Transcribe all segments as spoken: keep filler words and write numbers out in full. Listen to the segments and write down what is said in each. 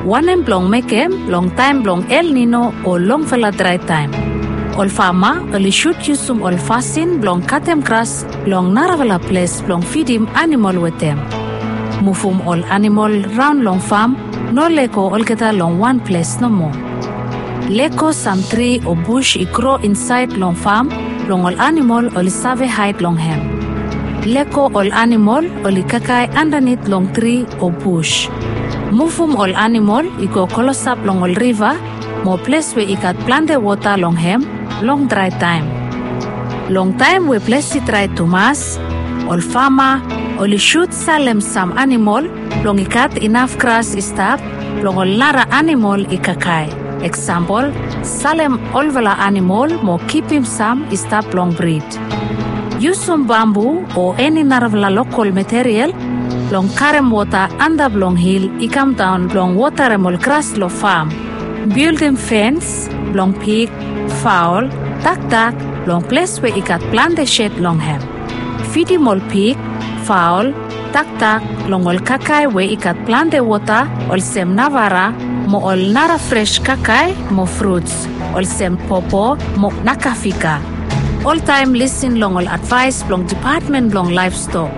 Wanem blong mekem long taem blong El Nino o longfala drae taem? Ol fama oli sud yusum ol fasin blong katem gras long narafala ples blong fidim anamol wetem. Muvum ol anamol raon long fam, no lego olgeta long wan ples nomo. Lego sam tri o bus i gro insaed long fam blong ol anamol oli save haed long hem. Lego ol anamol oli kakae andanit long tri o bus. Muvum ol anamol i go klosap long ol riva mo ples we i gat plante wota long hem long drae taem. Long taem we ples i drae tumas, ol fama oli sud salem sam anamol blong i gat inaf gras i stap blong ol nara anamol i kakae. Eksampol, salem olfala anamol mo kipim sam i stap blong brid. Yusum bambu o eni narafala lokol material blong karem wota antap long hil i kamdaon blong wotarem ol gras long fam. Bildim fens blong pig, faol, dakdak long ples we i gat plante sed long hem. Fidim ol pig, faol, dakdak long ol kakae we i gat plante wota olsem navara mo ol nara fres kakae mo fruts olsem popo mo nakafika. Oltaem lisin long ol advaes blong Dipatmen blong Laevstok.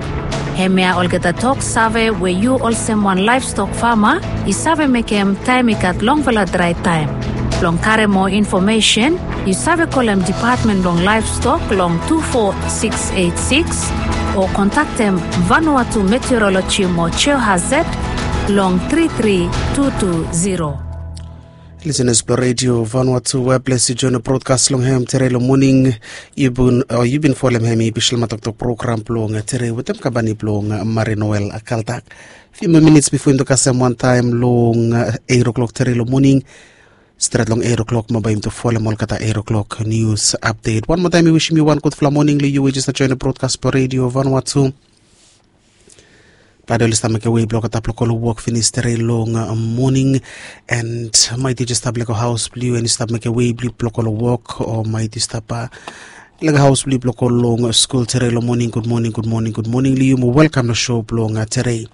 Hemia olgeta tok save we yu olsem wan laevstok fama i save mekem taem i gat longfala drae taem. Blong karem moa infomesen, yu save kolem Dipatmen blong Laevstok long tu fo siks eit siks o kontaktem Vanuatu Meteoroloji mo Geohazard long tri tri tu tu ziro. Lisenas blong Redio Vanuatu, we ples i joen brodkas long hem tere long moning. Yu bin folem hem i Bislama Toktok program blong tere wetem kampani blong Marinoel Kaltak. Fiu moa minits bifo yumi tu kasem wantaem long eit oklok tere long moning. Stret long eit oklok mo bae yumi tu folem olgeta eit oklok nius apdet. Wan moa taem mi wisim yu wan gudfala moning long yu we jes stap joen brodkas blong Redio Vanuatu. Bae oli stap mekem wei blong olgeta blong go long wok finis tere long moning. And maet yu jes stap lego haos blong yu and yu stap mekem wei blong yu blong go long wok o maet yu stap lego haos blong yu blong go long skul tere long moning, gudmoning, gudmoning, gudmoning long yu mo welkam long sou blong tere.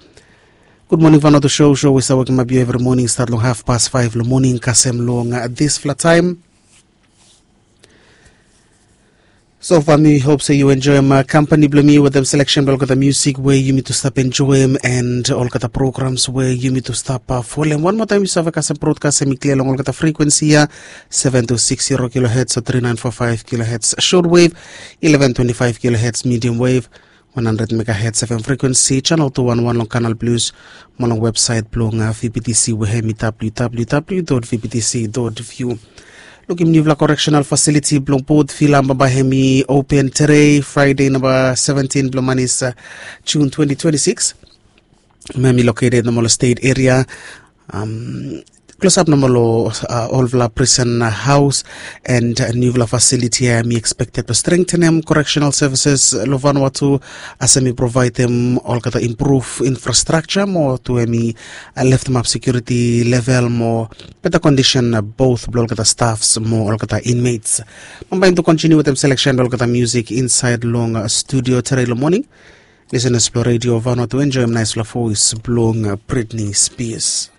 Gudmoning Vanuatu sou, sou we save wokemap yu evri moning stat long hafpas faef long moning kasem long disfala taem. Sofa mi hop se yu enjoem kampani blong mi wetem seleksen blong olgeta musik we yumi tu stap enjoem and olgeta programs we yumi tu stap folem. Wan moa taem yu save kasem brodkas hemi klia long olgeta frekuensi ya, seven two six zero kilohertz o three nine four five kilohertz shortwave, eleven twenty-five kilohertz medium wave, one hundred megahertz F M frekuensi, channel two one one long Canal Plus mo long websaet blong V B T C we hemi W W W dot V B T C dot V U. Lukim niufala correctional facility blong Port Vila bambae hemi open tere, Friday namba seventeen blong manis, June twenty twenty-six. Hemi located nomo long state area, klosap nomo long olfala prison haos and niufala facility ya hemi expected blong strengthenem correctional services long Vanuatu as hemi provaedem olgeta improve infrastructure mo tu hemi leftemap security level mo beta condition both blong olgeta staffs mo olgeta inmates. Bambae yumi tu continue wetem selection blong olgeta music inside long studio tere long moning. Listeners blong Radio Vanuatu, enjoem naesfala voes blong Britney Spears.